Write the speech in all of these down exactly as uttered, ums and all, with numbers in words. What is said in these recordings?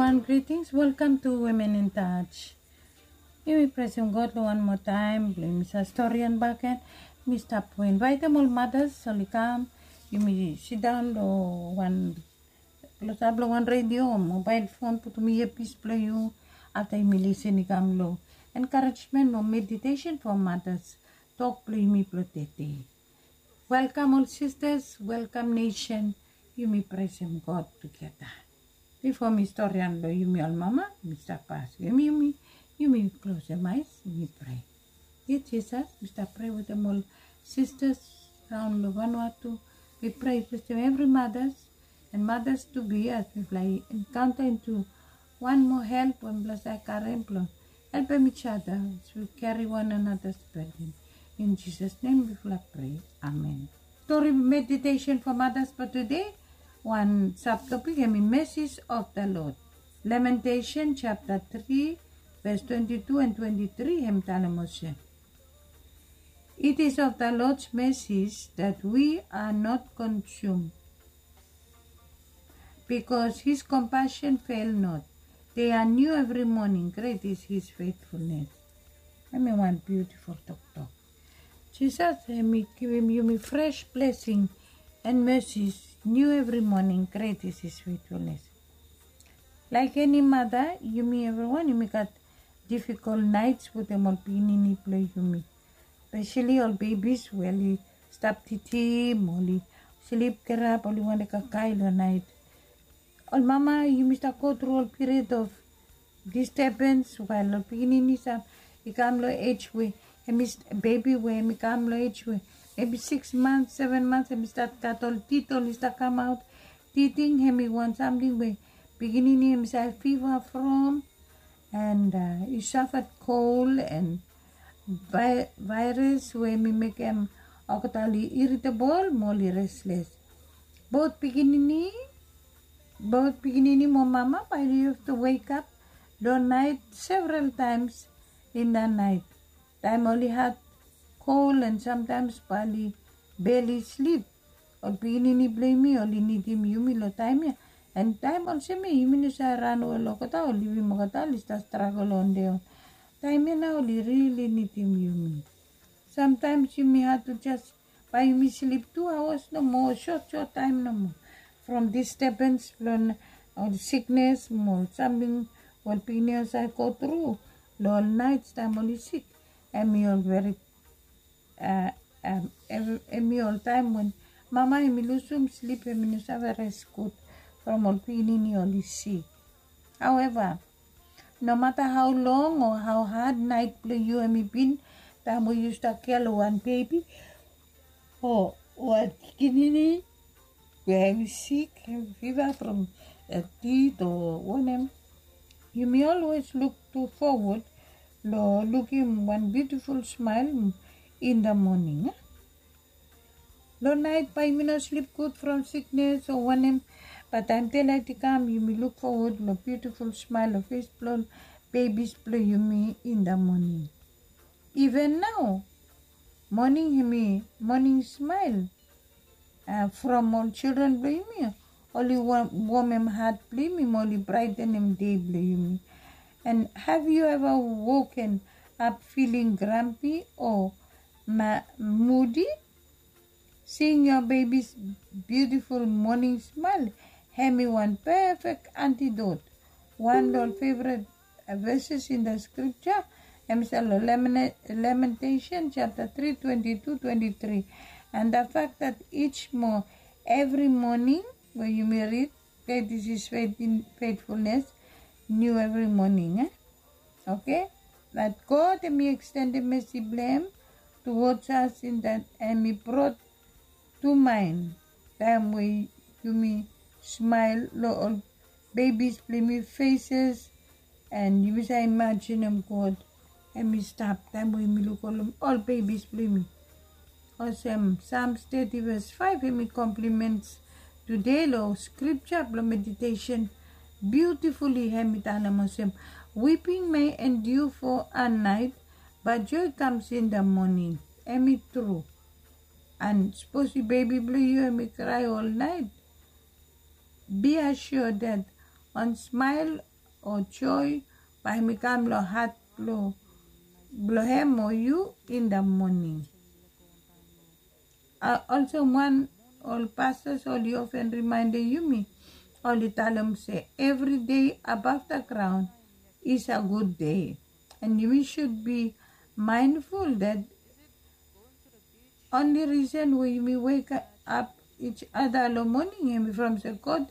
And greetings, welcome to Women in Touch. Yumi presem God long wan moa taem blong yumi save storian bakegen. Mi stap invaitem ol madas oli kam. Yumi sidaon long wan klosap long wan redio o mobael fon, putum iapis blong yu. Afta yumi lisin i kam long enkarejmen o meditesen fo madas, tok blong yumi blong tede. Welkam ol sistas, welkam nesen. Yumi presem God tugeta. Bifo mi storian long yumi ol mama, mi stap askem yumi, yumi klosem aes, yumi prea. Ye Jisas, mi stap prea wetem ol sistas raon long Vanuatu. Mi prea yu blesem evri madas and madas tu be as mifala i enkaonta intu wan moa help we mifala save karem blong helpem each other as we carry one another's burden. In Jesus' name mifala prea. Amen. Stori meditesen fo madas fo tede, wan sabtopik hemi Mercies of the Lord. Lamentation chapter three, verse twenty-two and twenty-three hem talem olsem, It is of the Lord's mercies that we are not consumed, because his compassion fail not. They are new every morning. Great is his faithfulness. Hemi wan biutiful toktok. Jisas hemi givim yumi fres blesing and mercies new every morning. Great is his faithfulness. Laik eni mada, yumi evriwan yumi gat difikol naets wetem ol pikinini blong yumi. Speseli ol bebis we oli stap titim, oli slip, gerap, oli wantem kakae long naet. Ol mama, yumi stap go tru ol period of disturbance wael ol pikinini sam i kam long ej we hemi, bebi we hemi kam long ej we mebi six months, seven months, hemi stat gat ol tit oli stap kamaot. Titing hemi wan samting we pikinini hemi save fiva from, and i safet kol and vaeras we hemi mekem olgeta oli irritable mo oli resles. Bot pikinini, bot pikinini mo mama bae oli have to wake up long naet several times in the night. Taem oli had kol and sometimes bae oli barely sleep. Ol pikinini blong yumi oli nidim yumi long taem ya. And taem olsem ya yumi no save ran we long olgeta o livim olgeta oli stap stragol on their own. Taem ya nao oli rili nidim yumi. Sometimes yumi had to just, bae yumi slip two hours nomo, sot sot taem nomo from disturbance blong ol siknes mo ol samting we ol pikinini oli save go tru long ol naets taem oli sik. Hemi ol veri, hemi ol taem we mama hemi lusum slip, hemi no save res gud from ol pikinini oli sik. However, no mata hao long o hao had naet blong yu hemi bin, taem we yu stap kea long wan bebi o wan pikinini we hemi sik, hemi fiva from tit o wanem, yumi always luk forward long lukim wan biutiful smael in the morning. Long naet bae yumi no slip gud from siknes o wanem, bat taem delaet i kam yumi luk fowod long biutiful smael long fes blong ol bebis blong yumi in the morning. Even nao, moning hemi moning smael from ol children blong yumi oli womem hat blong yumi mo oli braetenem dei blong yumi. And have you ever woken up feeling grumpy or moody? Seeing your baby's beautiful morning smile hemi wan perfect antidote. Wan long ol favourite verses in the scripture hemi stap long Lamentation chapter three twenty two twenty three. And the fact that each mo every morning we yumi rid, great is his faithfulness, new every morning. Okay, that God hemi extended mercy blong hem towards us in that hemi brought to mind taem we yumi smael long ol bebis blong yumi faces. And yumi save imajinem God hemi stap taem we yumi luk ol bebis blong yumi. Olsem Psalms thirty verse five hemi compliments today long scripture blong meditation. Beautifully hemi talem olsem, weeping may endure for a night, but joy comes in the morning. Hemi tru. And sapos yu bebi blong yu hemi krae ol naet, be assured that wan smael o joe bae hemi kam long hat blong hem o yu in da moning. Olsem wan ol pastas oli ofen rimaendem yumi, oli talem se evri dei abaf da graon is a gud dei. And yumi sud bi maenful dat onli risen we yumi wekap ij ada long moning hemi from se god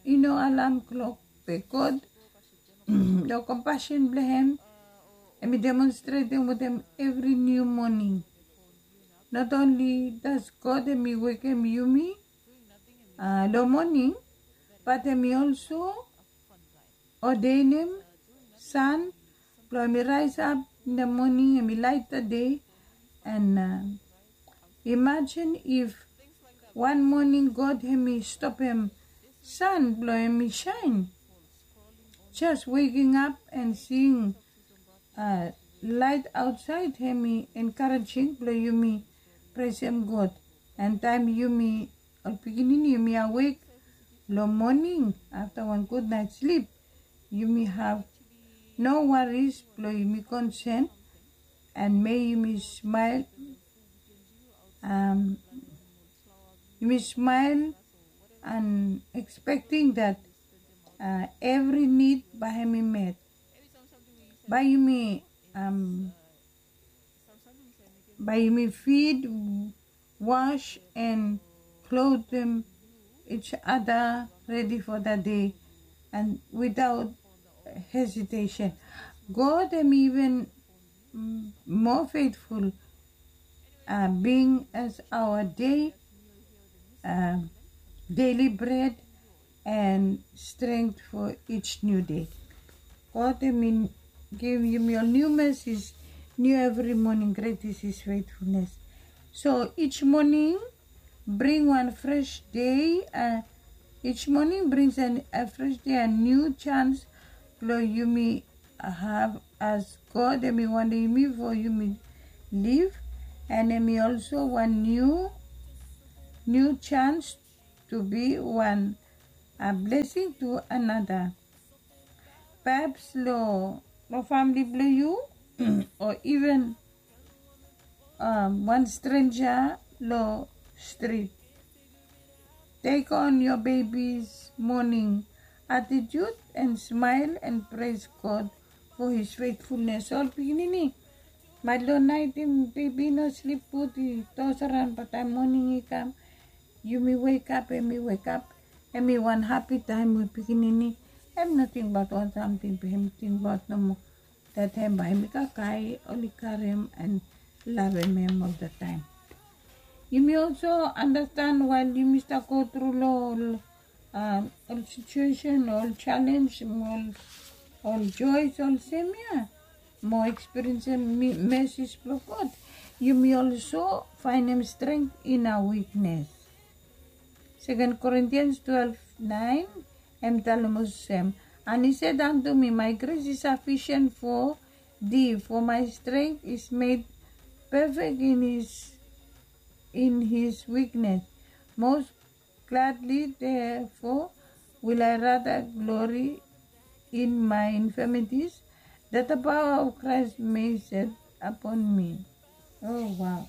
i no alam klok be god long kompasen blong hem hemi demonstretem wetem evri niu moning. Not onli das god hemi wekem yumi long moning, bat hemi olso odenem san blong hemi raesap in da moning hemi laet da dei. And imajin if wan moning god hemi stopem san blong hemi saen. Jes weking ap and sing laet aotsaed hemi enkarejing blong yumi presem god. And taem yumi ol pikinini yumi awek long moning afta wan gudnaet slip, yumi have no waris blong yumi konsen. And mei yumi smael, yumi smael and expecting dat evri nid bae hemi met. Bae yumi bae yumi fid, was and klotem ij ada redi fo da dei. And witaot hesitesen god hemi iven moa fetful bing as aoa dei, deli bred and strength fo ij niu dei. God hemi givim yumi ol niu mesis niu evri moning. Gret is his fetfulnes. So ij moning bring wan fres dei. Ij moning brings a fres dei a niu jans blong yumi have as god hemi wantem yumi fo yumi liv. And hemi olso wan niu niu jans tu bi wan blesing tu anata. Paps long famili blong yu o iven wan strenja long strit. Tek on yo bebis moning atitiut and smael and pres god fo his fetfulnes. Ol pikinini maet long naet bebi i no slip gud i tos araon bat taem moning i kam yumi wekap hemi wekap. Hemi wan hapi taem we pikinini hem no tingbaot wan samting be hem tingbaot nomo dat hem bae hemi kakae oli karem and lavem hem olgeta taem. Yumi olso andastan wael yumi stap go tru long ol situesen ol jalenj ol joes olsem ya mo ekspiriensem mesis blong god. Yumi olso faenem strength in a wiknes. Second Corinthians twelve nine, hem talem olsem, and he said unto me, my grace is sufficient for thee, for my strength is made perfect in his in his weakness. Most gladly therefore will I rather glory in my infirmities, that the power of Christ may set upon me. Oh wow.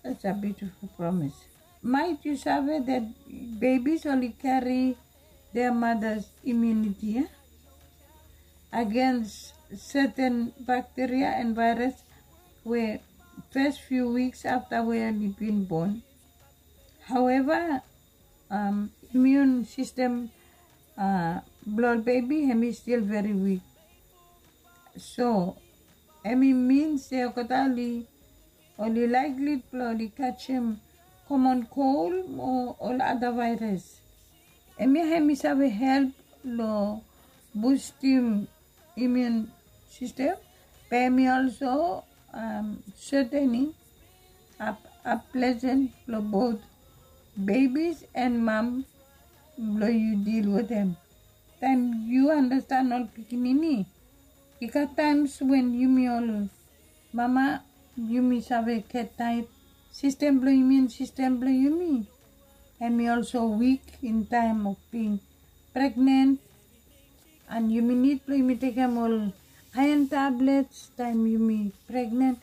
That's a beautiful promise. Maet yu save that bebis oli kari their mothers immunity against certain bacteria and virus we first few weeks afta we oli bin bon. However, immune system blong ol bebi hem i stil very weak. So hem i min se olgeta oli likely blong oli kajem common cold o ol ada virus. Hemia hem i save help long bustim immune system. Be hem i also certainly unpleasant blong both babies and mom blong yu deal wetem. Taem yu andastan ol pikinini, i gat times wen yumi ol mama yumi save get tired system blong yumi and system blong yumi hem i also weak in time of being pregnant. And yumi nid blong yumi tekem ol iron tablets taem yumi pregnen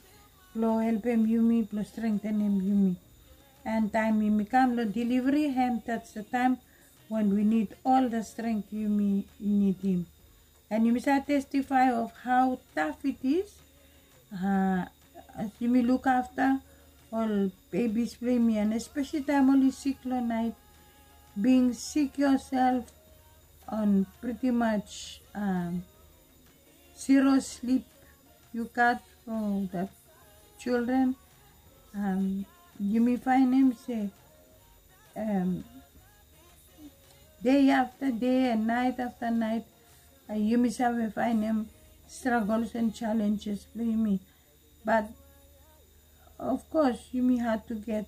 blong helpem yumi, blong strengtenem yumi. And taem yumi kam long delivery hem, that's the time when we need all the strength yumi nidim. And yumi save testify of how tough it is. Uh, as yumi look after ol babies blong yumi, and especially taem oli sik long naet, being sick yourself on pretty much um, zero sleep you got for the children. Um, yumi faenem se um, day after day and night after night, uh, yumi save faenem struggles and challenges blong yumi. But of course, yumi had to get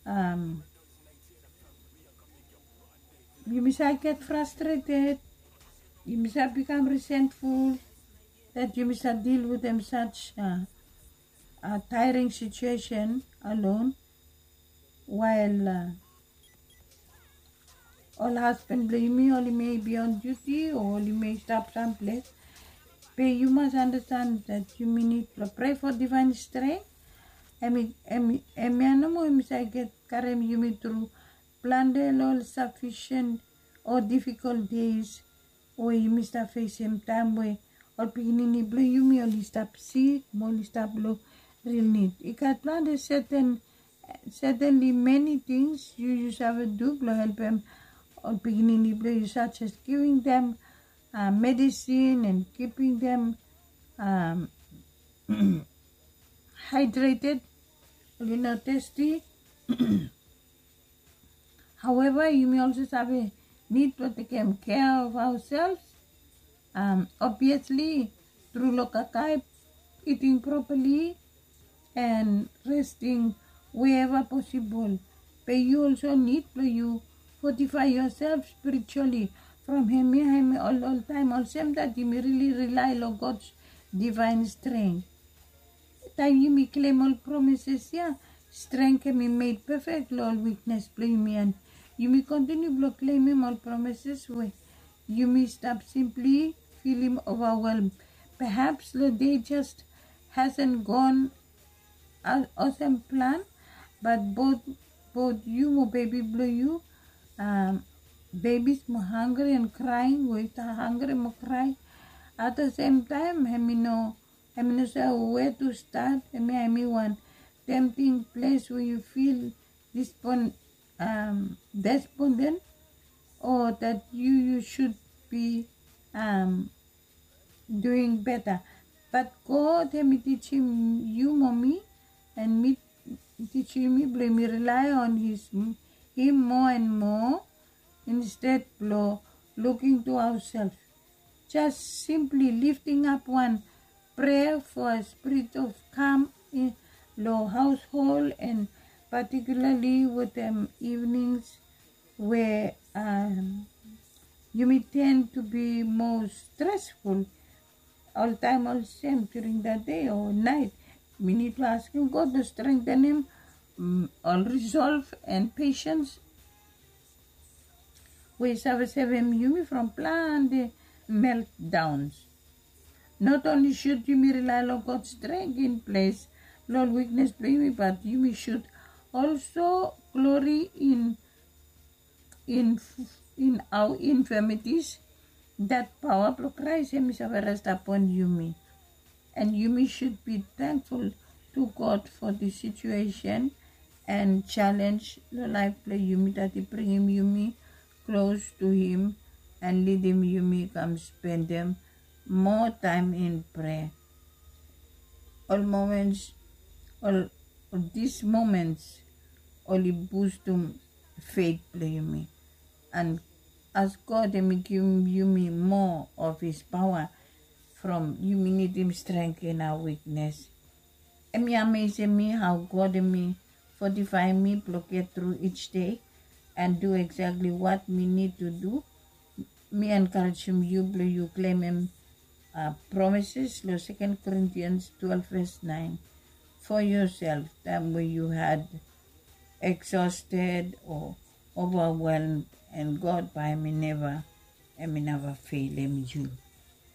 um, yumi save get frustrated. Yumi save become resentful that yumi save deal wetem such uh, uh, tiring situation alone, while uh, ol husband blong yumi oli may be on duty o oli may stap samples. Be yu mas understand that yumi nid blong pray for divine strength. Hemi, hemi, hemia nomo hemi save get karem yumi tru plante long ol sufficient o difficult days we yumi stap fesem taem we ol pikinini blong yumi oli stap sik mo oli stap long real need. I gat plante certain, certainly many things yu yu save du blong helpem ol pikinini blong yu, such as giving them uh, medicine and keeping them um, hydrated, oli no thirsty. However, yumi also save nid blong tekem care of ourselves. Um, obviously, tru long kakae, eating properly, and resting wherever possible. Be yu also nid blong yu fortify yourself spiritually from hemia, hemia ol, ol taem olsem that yumi really rely long God's divine strength. Taem yumi klem ol promises ia, strength hemi made perfect long ol weakness blong yumi, and yumi continue blong klemem ol promises we yumi stap simply feelim overwhelmed. Perhaps long day just hasn't gone as olsem plan, but both, both yu mo baby blong yu, um, babies mo hungry and crying, we stap hungry mo cry. At the same time, hemi no, hemi no save where to start. Hemia hemi wan tempting place where you feel despon- um, despondent or that you, you should be um, doing better. But God hemi tijim yu mo mi, and mi tijim mi blong yumi rely on his, him more and more instead blong looking to ourselves. Just simply lifting up one prayer for a spirit of calm in long household, and particularly wetem evenings where um, yumi tend to be more stressful. Oltaem olsem during the day o naet, mi nid blong askem God blong strengthenem um, ol resolve and patience we save sevem yumi from plante meltdowns. Not only should yumi rely long God strength in place long weakness blong yumi, but yumi should also glory in, in, in our infirmities, that power blong Christ hemi save rest upon yumi. And yumi should be thankful to God for the situation and challenge long laef blong yumi, that i bringim yumi close to him and lidim yumi kam spendem more time in prayer. Ol moments, ol, ol these moments oli bustum faith blong yumi. And as God hemi givim yumi more of his power from yumi nidim strength in our weakness. Hemi amazem mi how God hemi fortifaem mi blong get through each day and do exactly what mi nid to do. Mi encouragem yu blong yu klemem uh, promises long Second Corinthians twelve verse nine for yourself, taem we yu had exhausted or overwhelmed, and God bae hemi neva Em i neva feilem yu,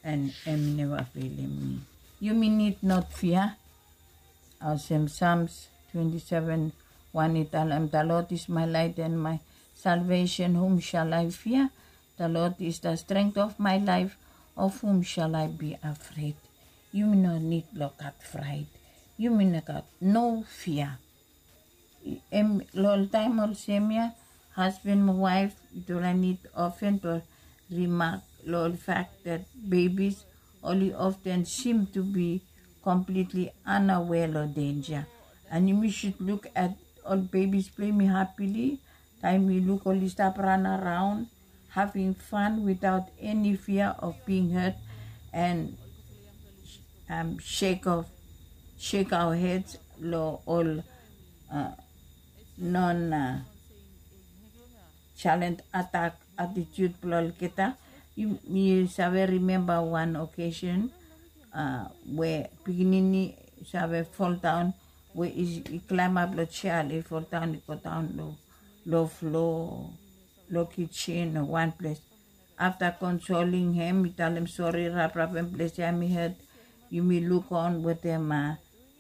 en em i neva feilem mi. Yumi nid not fia. Olsem Psalms twenty-seven one i talem, "The Lord is my light and my salvation, whom shall I fear? The Lord is the strength of my life, of whom shall I be afraid?" Yumi no nid blong gat fraet. Yumi no gat no fia. Em, long ol taem olsem ya, husband mo waef, yutufala nid often blong rimak long ol fact that babies oli often seem to be completely unaware long danger. And yumi should look at ol babies blong yumi happily, taem yu luk oli stap ran around, having fun without any fear of being hurt, and um, shake off, shake our heads long ol uh, non uh, challenge attack attitude blong olgeta. Yu, yu save remember one occasion uh, we pikinini save fall down, we i, i climb up long chair, i fall down, i go down long, long floor, long kitchen o wan ples. After consoling him, mi talem sori, raprapem ples ya mi hurt. Yumi luk on wetem uh,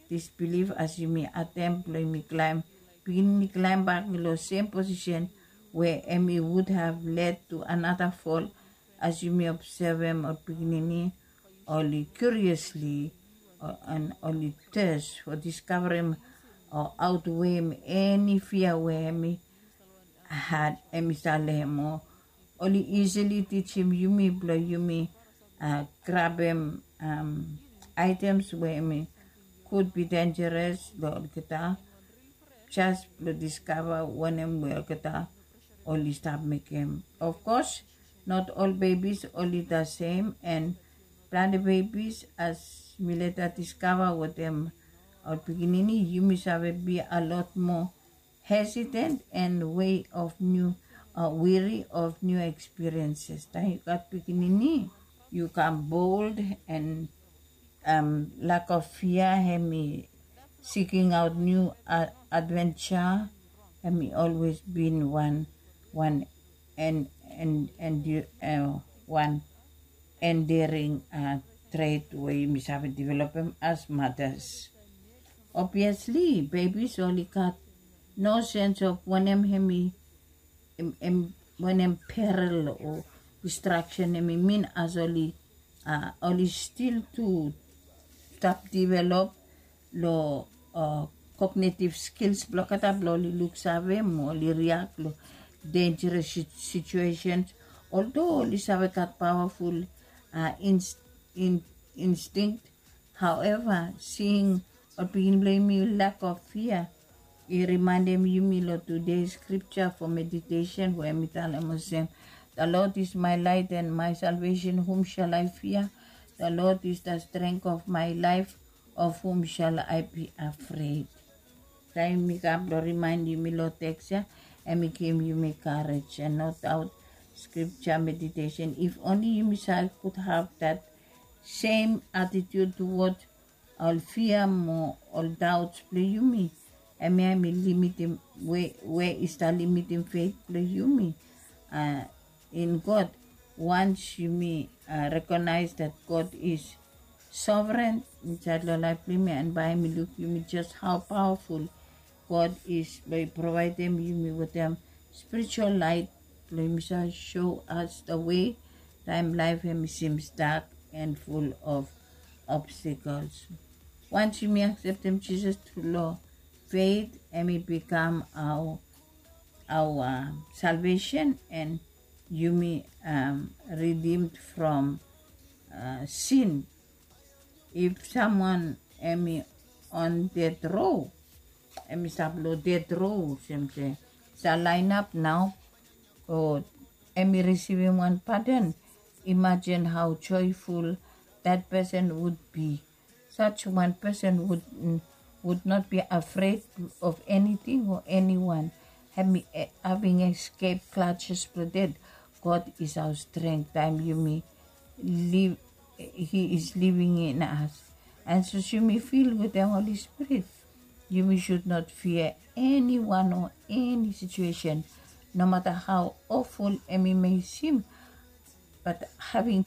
disbelief as yumi attempt blong yumi climb. Pikinini climb bak long same position where hemi would have led to another fall. As yumi observem ol pikinini, oli curiously uh, and oli thirst for discoverem o outweighem eni fia we hemi had, hemi stap long hem o oli easily tijim yumi blong yumi uh, grabem um, items we hemi could be dangerous long olgeta, just blong discover wanem we olgeta oli stap mekem. Of course, not all babies oli the same, and plante babies, as mi leta discover wetem ol pikinini, yumi save be a lot more hesitant and way of new, uh, weary of new experiences. Taem yu gat pikinini, yu kam bold and um, lack of fear, hemi seeking out new uh, adventure, hemi always been one, one and and and uh, one endearing uh, trait we yumi save developem as mothers. Obviously, babies oli gat no sense of wanem hemi em, em, wanem peril o destruction hemi mean, as oli uh, oli still to stap develop long uh, cognitive skills blong olgeta blong oli luksave mo oli react long dangerous sit- situations. Although oli save gat powerful uh, inst- in- instinct, however, seeing ol pikinini blong yumi lack of fear, i remindem yumi long today scripture for meditation we hemi talem olsem, "The Lord is my light and my salvation, whom shall I fear? The Lord is the strength of my life, of whom shall I be afraid?" Taem mi kam blong remind yumi long text ya, hemi givim yumi courage. And no doubt, scripture meditation, if only yumi save could have that same attitude toward ol fia mo ol doubts blong yumi, hemia hemi limitim we, we i stap limitim faith blong yumi uh, in God. Once yumi uh, recognize that God is sovereign insaed long laef blong yumi, and bae hemi luk yumi just how powerful God is blong i provaedem yumi wetem spiritual light blong yumi save show us the way taem laef hemi seems dark and full of obstacles. Once yumi akseptem Jisas tru long faith, hemi bikam our, our uh, salvation, and yumi um, redeemed from uh, sin. If someone hemi on death row, hemi stap long death row, olsem se sa line up nao, o hemi risivim wan pardon, imagine how joyful that person would be. Such one person would, would not be afraid of anything or anyone. Hemi, eh, having escaped clutches blong death. God is our strength. Taem yumi live, He is living in us. And sapos yumi fill wetem Holy Spirit, yumi should not fear anyone or any situation, no matter how awful hemi may seem. But having